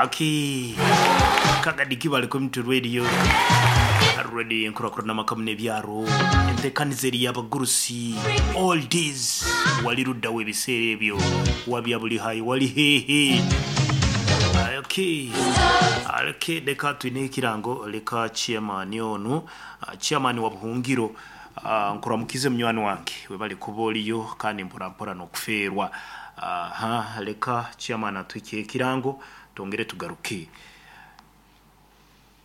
Aki Kagadi Kibale Community Radio Radio y'enkurakurana amaka muno ebyaro entekaniza eri y'abagurusi all days wali luddawa ebiseera ebyo wabya buli hayi wali hehe Okay. Okay, leka twine ekirango leka chairman onu chairman wa Buhungiro nkuramukize munywani wange webale kuba oliyo kandi mpora mpora n'okufeerwa. Aha, leka chairman atwike ekirango twongere tugaruke.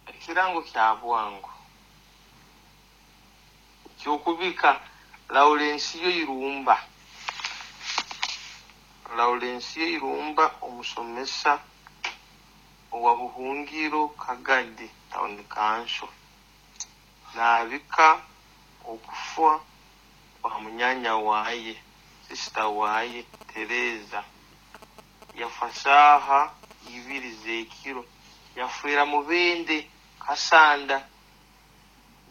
Ekirango kya bwangu ky'okubika Laurensiyo Irumba. Laurensiyo Irumba omusomesa owa Buhungiro Kagadi Town Council naabika okufa kwa munyanya waaye, sisita waaye Tereza yafa shaaha ibiri z'ekiro yafiira Mubende Kasanda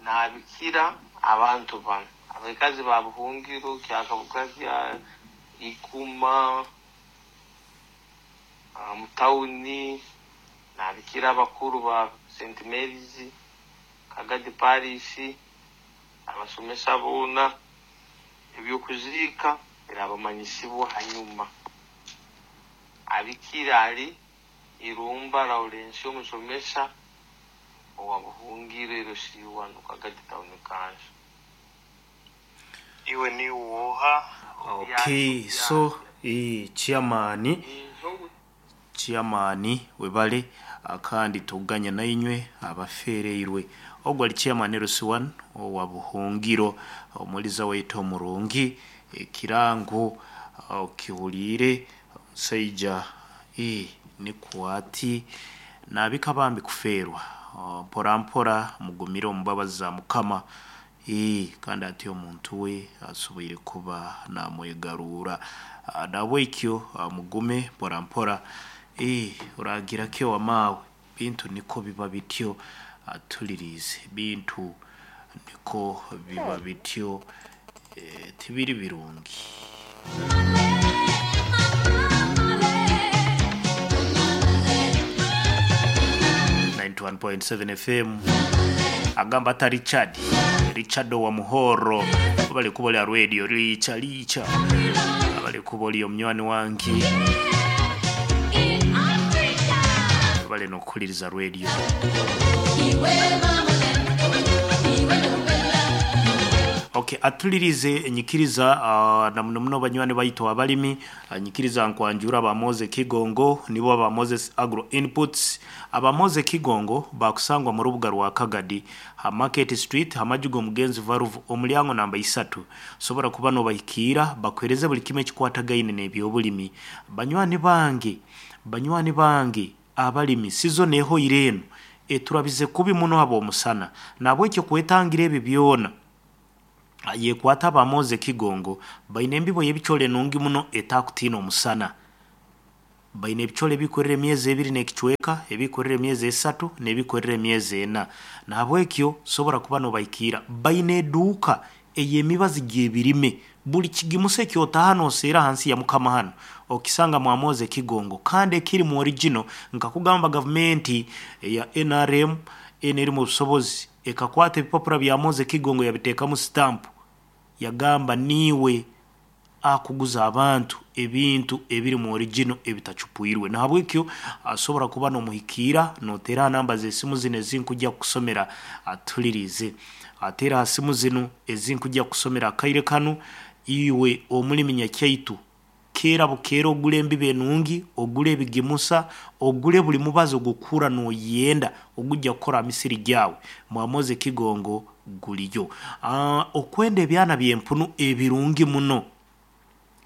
naabikira abantu banu abakazi ba Buhungiro Kyakabuga kya Ikuma mutawuni naabikira abakuru ba St Mary's Kagadi Parish abasomesa boona eby'okuziika birabamanyisibwa hanyuma. Abikira ari Irumba Lawrence omusomesa owa Buhungiro LC1 Kagadi Town Council. Iwe ni woha? Okay, so chairman chairman webale kandi tuganya nainywe abafeereirwe ogwo ali chairman LC1 owa Buhungiro omuliza waitu omurungi ekirango okihuliire omusaija nikwo ati naabika bambi kufeerwa mpora mpora mugumire omu mbabazi za Mukama kandi ati omuntu we asoboire kuba namwegaruura nabwekyo mugume mpora mpora oragira ki owamaawe bintu niko biba bityo atulirize bintu niko biba bityo tibiri birungi. 91.7 FM agamba ata Richard Richard wa Muhoro bali kuba lya radio licha licha bali kuba lyo munywani wange bali nokukuliriza radio. Okay, atulirize enyikiriza na muno muno banywani baitu abalimi nyikiriza nkwanjura ba Moze Kigongo nibo ba Moses Agro Inputs. Aba Moze Kigongo bakusangwa mu rubuga rwa Kagadi ha Market Street hamajugo mugenzi varuvu omulyango namba 3 sobora kuba no bahikira bakwereze buli kimwe kikwatagaine n'ebyobulimi. Banywani bange abalimi season eho ireno eturabize kubi muno abo omusana nabwekyo kwetangira ebi byona yekwata ba Moze Kigongo baine embibo y'ebichole nungi muno etakutina omusana. Baine ebichole bikorere emyezi ebiri n'ekichweka, ebikorere emyezi 3 n'ebikorere emyezi 4. Nabwekyo sobora kuba nobaikira baine eduuka ey'emibazi gy'ebirime buli kigimuse kyotahano osera hansi ya Mukama hano okisanga mwa Moze Kigongo kandi ekiri mu original. Nkakugamba gavumenti ya NRM eri mu busobozi ekakwata ebipapura bya Moze Kigongo yabiteekamu stamp yagamba niwe akuguza abantu ebintu ebiri mu original ebitachupwirwe. Nahabwekyo asobora kuba nomuhikiira notera namba z'esimu zino ezinkujja kusomera atulirize atera simu zino ezinkujja kusomera akaire kanu. Iwe omulimi nyakyaitu kera bukeera ogule embibo enungi, ogule ebigimusa, ogule buli mubazi ogukura noyenda ogujja kukora misiri gyawe mwa Moze Kigongo guliyo. Okwenda ebyana by'empunu ebirungi muno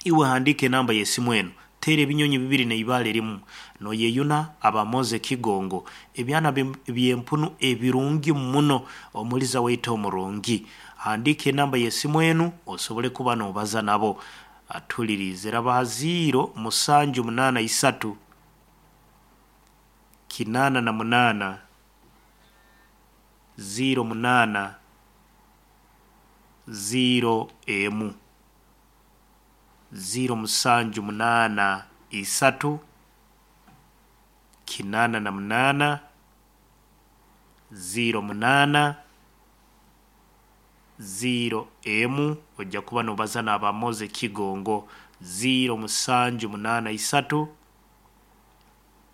iwe handike namba y'esimu eno tera ebinyonyi bibiri n'eibaale rimu noyeyuna aba Moze Kigongo ebyana by'empunu ebirungi muno omuliza waitu omurungi. Handike enamba y'esimu enu osobole kuba nobaza nabo. Atulirize rabaha 0 7 8 3 8 8 0 8 0 emu 0 7 8 3 88 08 0 emu ojja kuba nobaza n'aba Moze Kigongo 0 musanju munaana isatu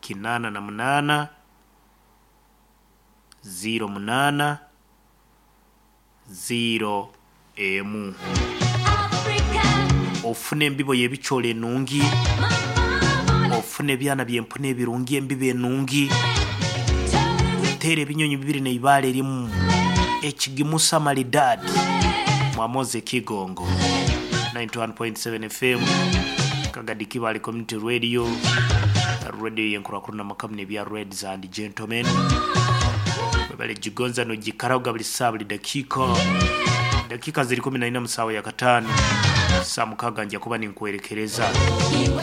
88 08 0 emu. Ofune embibo y'ebicoori enungi, ofune ebyana by'empunu ebirungi embibo enungi, teera ebinyonyi bibiri n'eibaare rimu, ekigimusa maridadi mwa Moze Kigongo. 91.7 FM Kagadi Kibale Community Radio, radio y'enkurakurana makamu n'ebya Reds and Gentlemen. Webale gigonza nogikaraga buli saa buli dakiika. Dakika ziri 14 mu saawa ya kataano saa mukaaga nja kuba ninkwerekereza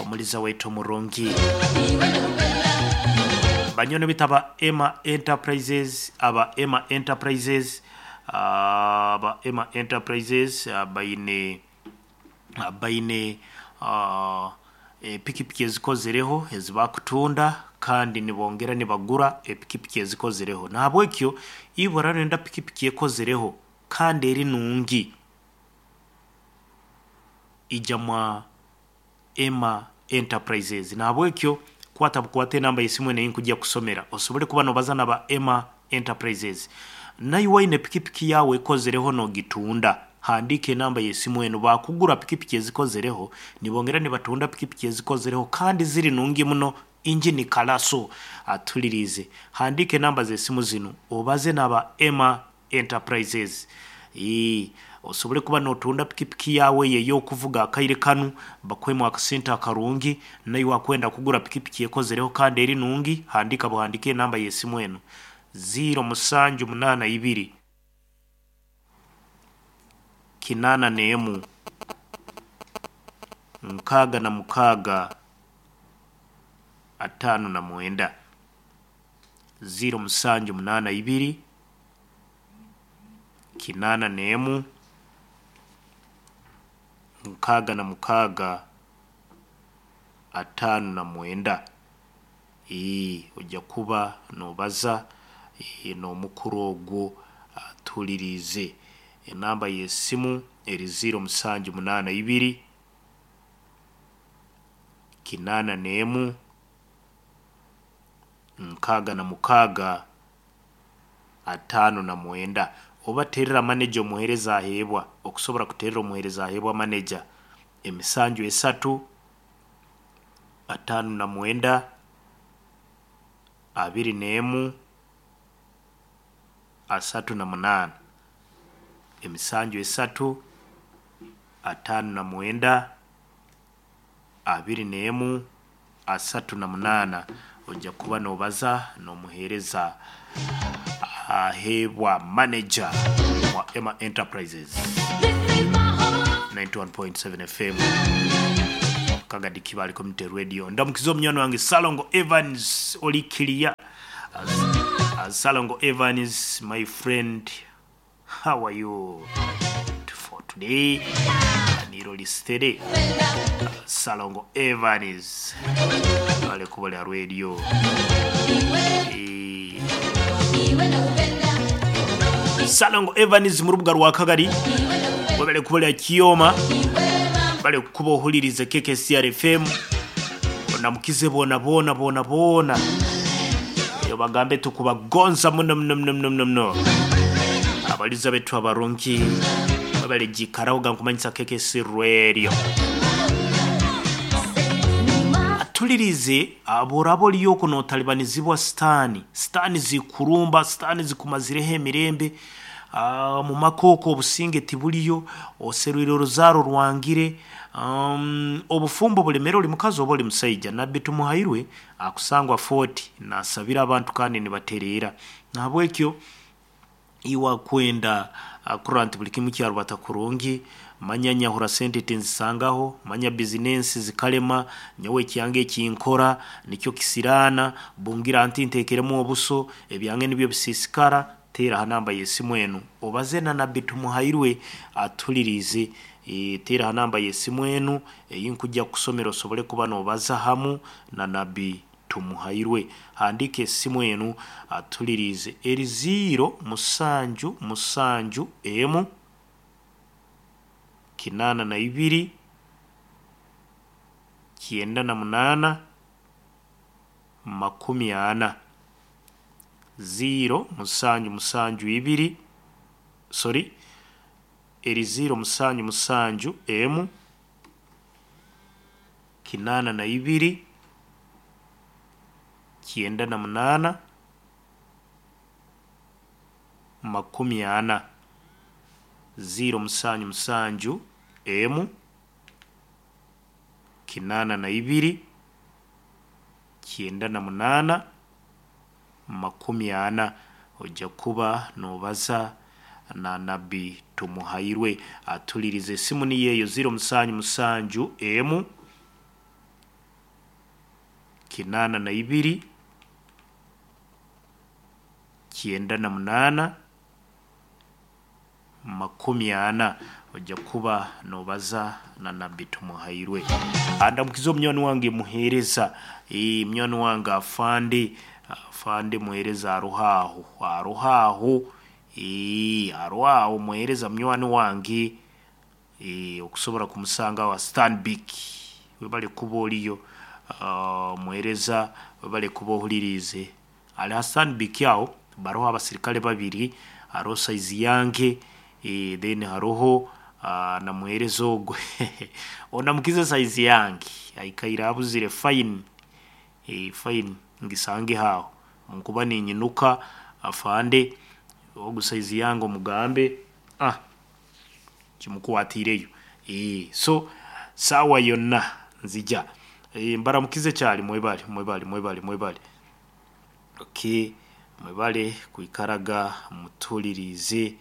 omuliza waitu omurungi banyono bitaba Emma Enterprises aba Emma Enterprises aba Emma Enterprises baine baine epikipiki ezikozereho ezibakutunda kandi nibongera nibagura epikipiki ezikozereho nahabwekyo ibura nenda pikipiki ekozereho kandi eri nungi ija mwa Emma Enterprises nahabwekyo kwata bukwate enamba y'esimu eno einkujja kusomera osobole kuba nobaza naba Emma Enterprises naiwe waine pikipiki yawe ekozereho nogitunda handika enamba y'esimu eno bakugura pikipiki ezikozereho nibongera nibatunda pikipiki ezikozereho kandi ziri nungi muno injini kalaso atulirize handika enamba z'esimu zinu obaze naba Emma Enterprises. Osobole kuba notunda pikipiki yawe eyokuvuga akaire kanu bakwemu akasente akarungi naiwe akwenda kugura pikipiki ekozereho kandi eri nungi handika buhandike enamba y'esimu eno 0 musanju munaana ibiri 81 66 59 0 musanju munaana ibiri 81 66 59. Ojja kuba nobaza n'omukuru ogwo atulirize enamba y'esimu eri 0 musanju munaana ibiri 81 66 59. Oba terera maneja omuhereza aheebwa okusobora kuterera omuhereza aheebwa maneja emisanju esatu 59 21 38 emisanju esatu 59 21 38. Ojja kuba nobaza n'omuhereza aheebwa manager wa Emma Enterprises. 91.7 FM Kagadi Kibale Community Radio. Ndamukiza omunywani wange Salongo Evans olikiria. Salongo Evans, my friend, how are you for today? Niro listere Salongo Evans ale kuba radio. Salongo Evans mu rubuga rwa Kagari wabale kuba Kiyoma bale kuba ohulirize KKCR FM onamukize bona bona bona bona eyo bagambe tukubagonza muno muno muno muno muno abaliza betu abarungi babale jikaraho nkumanyisa KKC Radio atulirize aborabo liyoko notalibanizibwa stani stani zikurumba stani zikumazireho emirembe mu makoko obusinge tibuliyo oserwire oruzaro rwangire obufumbo bulemere oli mukazi oba oli musaija nabbi tumuhairwe akusangwa 40 nasabira abantu kandi nibatereera nahabwekyo iwa kwenda kurant buli kimu kyarubata kurungi manya nyahura sente tinzisangaho manya business zikalema nyowe kyange kinkora nikyo kisirana bungira anti ntekeremu obuso ebyange nibyo bisisikara tera hanamba yesimu enu obaze na nabbi tumuhairwe atulirize tera hanamba yesimu enu eyinkujja kusomera osobole kuba nobaza hamu na nabbi Tumuhairwe. Handiika esimu enu atuliriize eri ziiro musanju musanju emu kinaana na ibiri kyenda na munaana makumi ana. Ziiro musanju musanju ibiri sorry eri ziiro musanju musanju emu kinaana na ibiri kyenda na munaana makumi ana. Ziiro musanju musanju emu kinaana na ibiri kyenda na munaana makumi ana. Ojja kuba noobaza na Nabbi Tumuhairwe atulirize esimu niyo eyo ziiro musanju musanju emu kinaana na ibiri kyenda na munaana makumi ana. Ojja kuba noobaza na Nabbi Tumuhairwe. Andamukiza omunywani wange muheereza, munywani wange afande, afande muheereza aroho aho, aroho aho, aroho aho muheereza munywani wange, okusobora kumusanga aho Stanbic webale kuba oriyo, muheereza webale kuba ohuririize. Ali ha Stanbic aho baroho abasirikale babiri, haroho saizi yange, then haroho na muheereza ogwe ondamukize saizi yange aikaire abuzire fine, fine ngisange aho nkuba ninyinuka afande ogu saizi yange omugambe kimukwatiireyo. So saawa yonna nzija. Mbaramukize kyali mwebale mwebale mwebale mwebale. Okay, mwebale kwikaraga mutuliriize.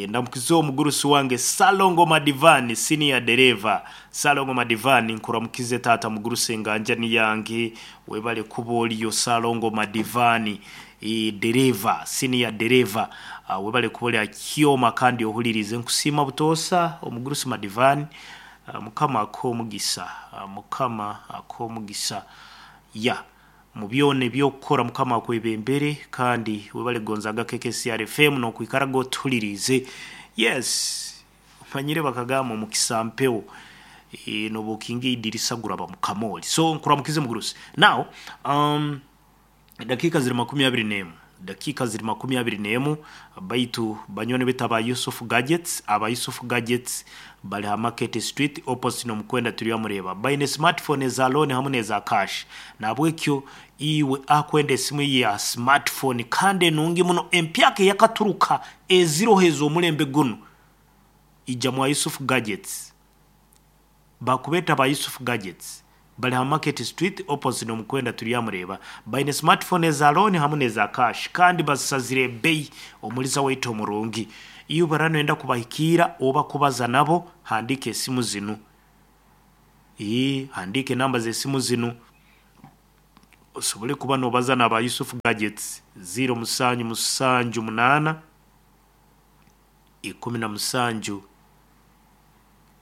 Ndamukize omugurusi wange Salongo Madivani senior dereva. Salongo Madivani nkuramukize taata mugurusi enganjani yange webale kuba oliyo Salongo Madivani, dereva senior dereva, webale kuba oli akyoma kandi ohuririize. Nkusiima butoosa omugurusi Madivani, Mukama akuhe omugisa, Mukama akuhe omugisa ya mu byona eby'okukora Mukama akwebembere kandi webale kugonzaga KKCR FM n'okwikaraga otuhuririize. Yes, omanyire bakagamba omukisa mpewo, noba okinga eidirisa guraba mu kamooli. So nkuramukize mugurusi. Now, dakiika ziri makumi abiri n'emu, dakiika ziri makumi abiri n'emu, baitu banywani baitu aba Yusuf Gadgets, aba Yusuf Gadgets bari ha Market Street opposite n'omukwenda turyamureeba. Baine smartphone eza loan hamu n'eza cash. Nahabwekyo iwe akwenda esimu ya smartphone kandi enungi muno empyaka eyakaturuka eziroho ez'omulembe gunu, ija mwa Yusuf Gadgets. Bakubeeta aba Yusuf Gadgets bari ha Market Street opposite n'omukwenda turyamureeba. Baine smartphone eza loan hamu n'eza cash kandi bazisazire ebeeyi omuliza waitu omurungi. Iwe bara noyenda kubahikiira oba kubaza nabo, handiika esimu zinu. Handiika enamba z'esimu zinu osobole kuba noobaza n'aba Yusuf Gadgets ziiro musanju musanju munaana ikumi na musanju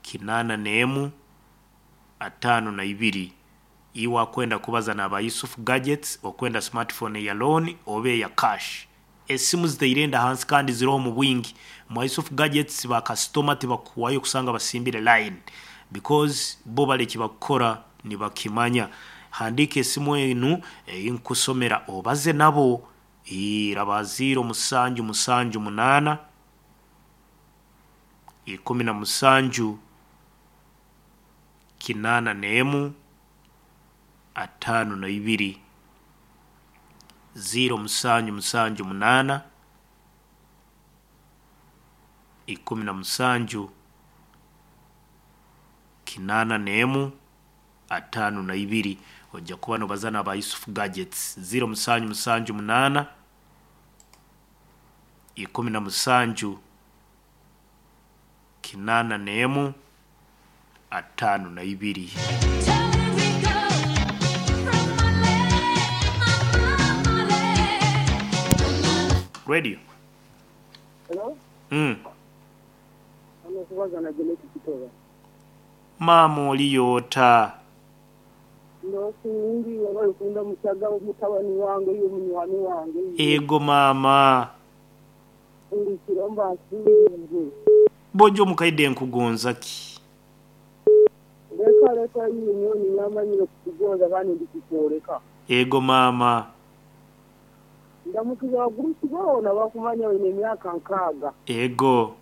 kinaana n'emu ataano na ibiri. Iwe akwenda kubaza n'aba Yusuf Gadgets okwenda smartphone eya loan oba eya cash. Esimu zitaire enda hansi kandi ziroho omu bwingi. Mwa Yusuf Gadgets bakasitoma tibakuhwayo kusanga basimbire line because bo bari eki bakukora nibakimanya. Handiika esimu enu ei nkusomera obaze nabo, eraba ziiro musanju musanju munaana ikumi na musanju kinaana n'emu ataano na ibiri. Ziiro musanju musanju munaana ikumi na musanju kinaana n'emu ataano na ibiri. Ojja kuba noobaza n'aba Yusuf Gadgets ziiro musanju musanju munaana ikumi na musanju kinaana n'emu ataano na ibiri. Radio. Hello? Hano kubaza na Janet Kitoba. Maama oliyo ota? N'okundi webale kundamukyaga mutabani wange iwe munywani wange iwe. Ego maama. Buli kiro mba nkuhuriire. Bojo omukaide nkugonza ki? Leka leka iwe nyowe niinyamanyire kukugonza kandi ndikukworeka. Ego maama. Ndamukize abagurusi boona abakumanya baine emyaka nkaaga. Ego.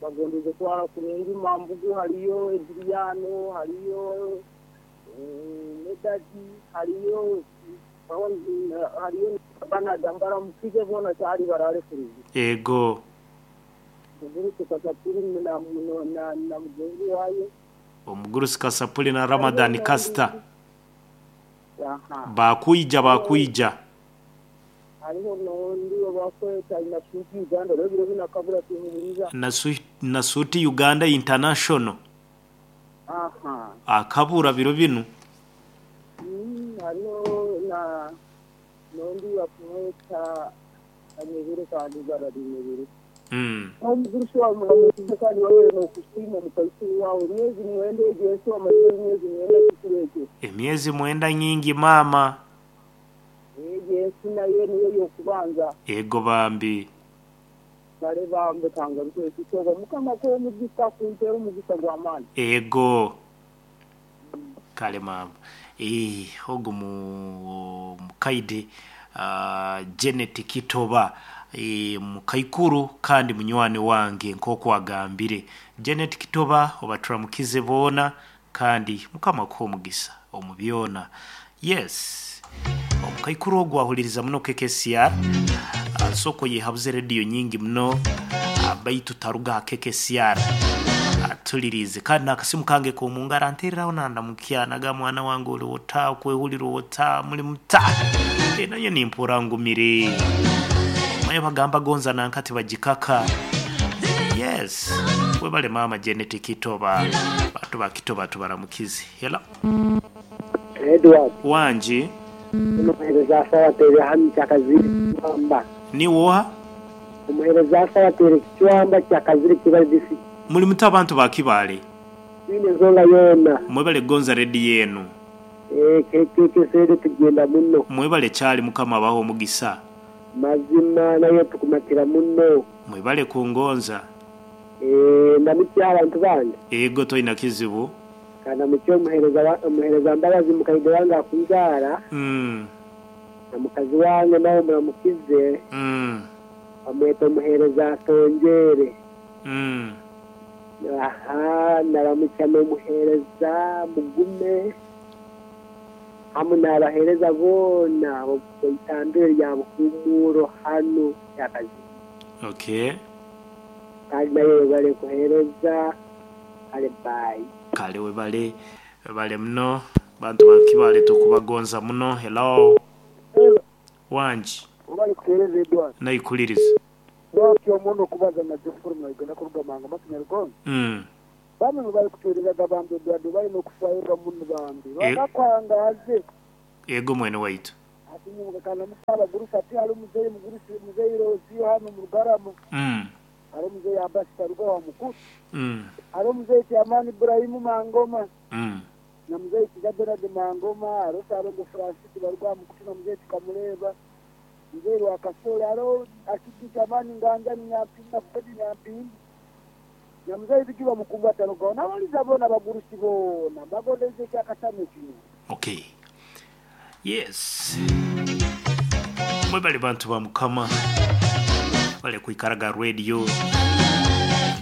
Bagondeze kuraara kurungi Mambugu hariyo Ediriano, hariyo Medadi, hariyo hariyo Banada mbaramukize boona kyari baraare kurungi. Ego. Mugurusi Kasapuli na na na mugenzi waayo. Omugurusi Kasapuli na Ramadhan Kasita. Aha. Bakwija bakwija. Hariho n'ondi obakweta Nasuuti Uganda rero ebiro binu akabura timuhuriza. Nasuuti Uganda International. Aha. Akabura biro binu. Hariho na n'ondi bakumweta Kanyebere kandi ibara Rinyebere. Omugurusi waawe muramukize kandi wabere n'okusiima omukaikuru waawe emyezi mwenda egyo ensi wamazire emyezi mwenda kikuru ekyo. Emyezi mwenda nyingi maama. Egyo ensi nayo niyo y'okubanza. Ego bambi. Kale bambi kangaruke ekitooba Mukama akuhe omugisa akumpeere omugisa gw'amaani. Ego. Kale maama. Eeh ogu mukaide Janet Kitoba mukaikuru kandi munywani wange nk'oku agambire. Janet Kitoba obaturamukize boona kandi Mukama akuhe omugisa omu byona. Yes, omukaikuru ogu ahuliriza muno KKCR, soko yehabuze rediyo nyingi muno baitu taruga aha KKCR atuliriize kandi n'akasimu kange k'omungaro anteereraho nandamukya nagamba mwana wange ori ota, okwehurira ota, muri muta? Nanye nimpurra ngumire. Omanye bagamba gonza nanka tibagikaka. Yes, webale maama Janet Kitoba, bantu ba Kitoba tubaramukize. Hello. Edward. Wangi. Omuheereza Asawateire hanu Kyakaziri Kicwamba. Niiwe oha? Omuheereza Asawateire Kicwamba Kyakaziri Kibale District. Muri muta abantu ba Kibale? Twine ensonga yoona. Mwebale kugonza rediyo enu. Eeh KKK tugyenda muno. Mwebale kyali Mukama abahe omugisa. Mazima nayo tukumatira muno. Mwebale kungonza. Eeh ndamukye abantu bange. Ego toina kizibu. Kandamukye omuhereza omuhereza Mbabazi mukaide wange akunzaara. Na mukazi wange nawe muramukize. Bamweta omuhereza Atongyeere. Aha naramukya n'omuhereza Mugume hamu n'abahereza boona ab'omu itambiro rya Buhumuuro hanu Kyakazimu. Okay. Kandi naye webale kuhereza kale bye. Kale webale webale muno bantu ba Kibale tukubagonza muno. Hello. Hello. Wangi. Webale kutuhereza Edward. Naikuliriza. Lwaki omuno okubaza na Geoffrey Mwaigana kuruga Mangoma Kinyarugong? Bamwe mubali kutuherezaga bambi Edward webale nokufayo muno bambi. Bakakwangaaze. Ego mwene waitu. Ati nyowe nkanamuka abagurusi ati hariho muzeeyi mugurusi muzeeyi Roziyo hanu omu Rugarama. Hariho muzeeyi Abasi Taruga wa Mukuru. Hariho muzeeyi Kyamani Ibrahim Mangoma. Na muzeeyi Kiza Bernard Mangoma, hariho Ssalongo Francis baruga aha Mukutu na muzeeyi Tukamureeba. Muzeeyi Rwakasore, hariho Akiki Kyamani Nganjani Nyampinda na Fred Nyampinda. Na muzeeyi Bigirwa Mukumbu atarugaho. N'abariza boona abagurusi boona mbagondeze ekyakatano kinu. Okay. Yes. Mwebale bantu ba Mukama. Mwebale kwikaraga radio.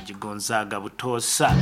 Gigonzaga butoosa.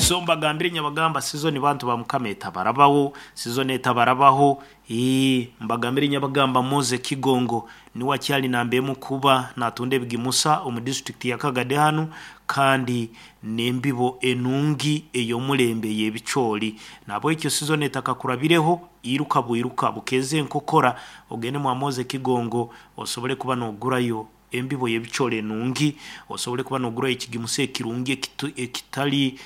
So mbagambire nyabagamba sizoni bantu ba Mukama etabarabaho, sizoni etabarabaho. Ii mbagambire nyabagamba Moze Kigongo niwe akyali nambemu kuba natunda ebigimusa omu district ya Kagadi hanu kandi n'embibo enungi ey'omulembe y'ebicoori. Nahabwekyo sizoni etakakurabireho iruka bwiruka bukeeze enkokora ogende mwa Moze Kigongo osobole kuba nogurayo embibo y'ebicoori enungi, osobole kuba nogurayo ekigimusa ekirungi ekitali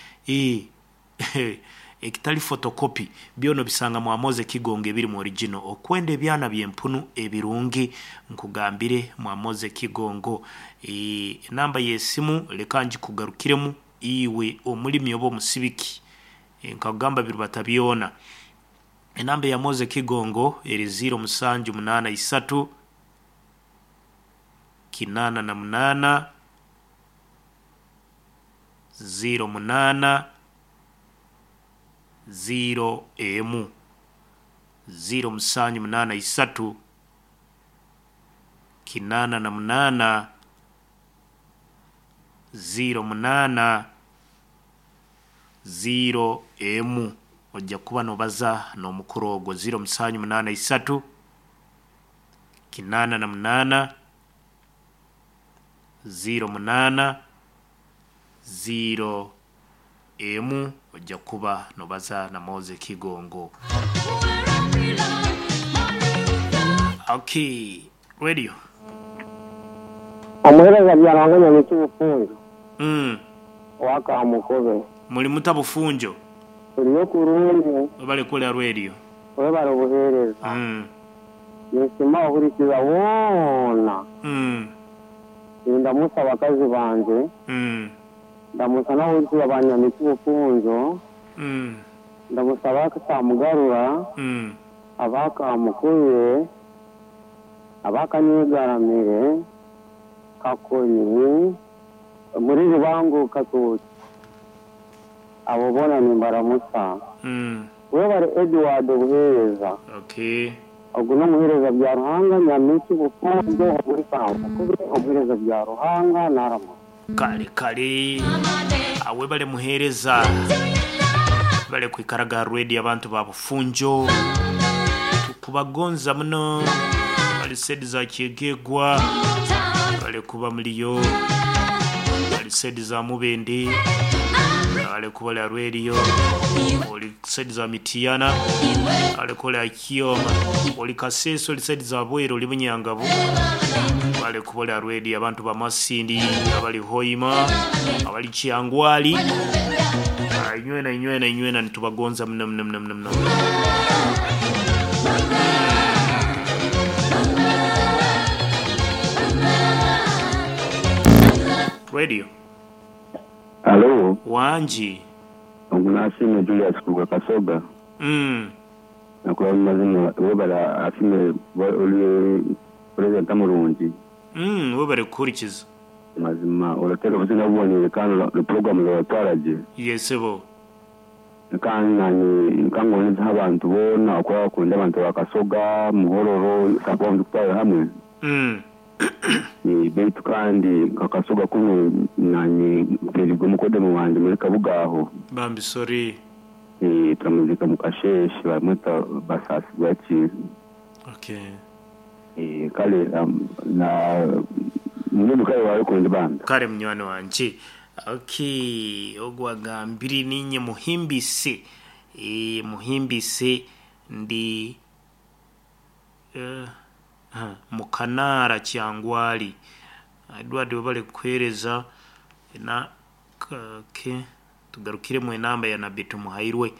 Ekitali photocopy byona obisanga mwa Moze Kigongo ebirimu original. Okwenda ebyana by'empunu ebirungi nkugambire mwa Moze Kigongo. Enamba y'esimu leka ngikugarukiremu iwe omulimi oba omusibiki. Nkakugamba birubata byona. Enamba ya Moze Kigongo eri 0783 88 08 0 emu 0783 88 08 0 emu ojja kuba nobaza n'omukuru ogwo 0783 88 08 0 emu ojja kuba nobaza na Moze Kigongo. Okay, radio. Omuheereza Byaruhanga Nyamwisi Bufunjo owa Kamukobe. Muli muta Bufunjo? Turiyo kurungi. Webale kuhurira radio. Webale obuheereza. Ninsiima abahurikiza boona. Nindamusa abakazi bangye. Ndamusa n'abahurikiza ba Nyamwisi Bufunjo. Ndamusa aba Kamugarura, aba Kamukobe, aba Kanyegaramire, Kakoni, omuri Rubango Katookye. Abo boona nimbaramusa. Webare Edward obuheereza. Okay. Ogu n'omuheereza Byaruhanga Nyamwisi Bufunjo omuri Kamukobe, omuheereza Byaruhanga naramusa. Kale kale webale muheereza bale kwikaraga ha radio abantu ba Bufunjo tukubagonza muno bali sedi za Kyegegwa bale kuba muliyo bali sedi za Mubende bale kuba lya radio oli sedi za Mitiyana bale kuba lya Kioma oli Kaseso oli sedi za Bwero oli Bunyangabu bale kuba lya radio abantu ba Masindi abali Hoima abali Kyangwali inywena inywena inywena nitubagonza mno mno mno mno mno. Radio. Alo, Wangi. ogu nasiime Julius kuruga Kasoga. Nakuba mazima webale asime oli purezidenti murungi. Webale kuhurikiza. Mazima orateeka obusinga buboniire kandi puroguramu zoratwara gye. Yesebo. Kandi nanye nkangoneza abantu boona okuba bakunda abantu ba Kasoga, Muhororo, sakuba tukutwara hamwe. Beitu kandi nka Kasoga kunu nanye mperigwe mukodemu wanje muri Kabuga aho. Bambi sorry. Turamuzika mu Kasheeshe bamweta Basasi bwaki. Okay. Kale na mbwenu kale wawe kundi bambi. Kale munywani wangye. Okay, ogwo agambire ninye muhimbise. Muhimbise ndi Mukanaara Kyangwali. Edward webale kukuheereza na okay. Tugarukiremu enamba ya Nabbi Tumuhairwe.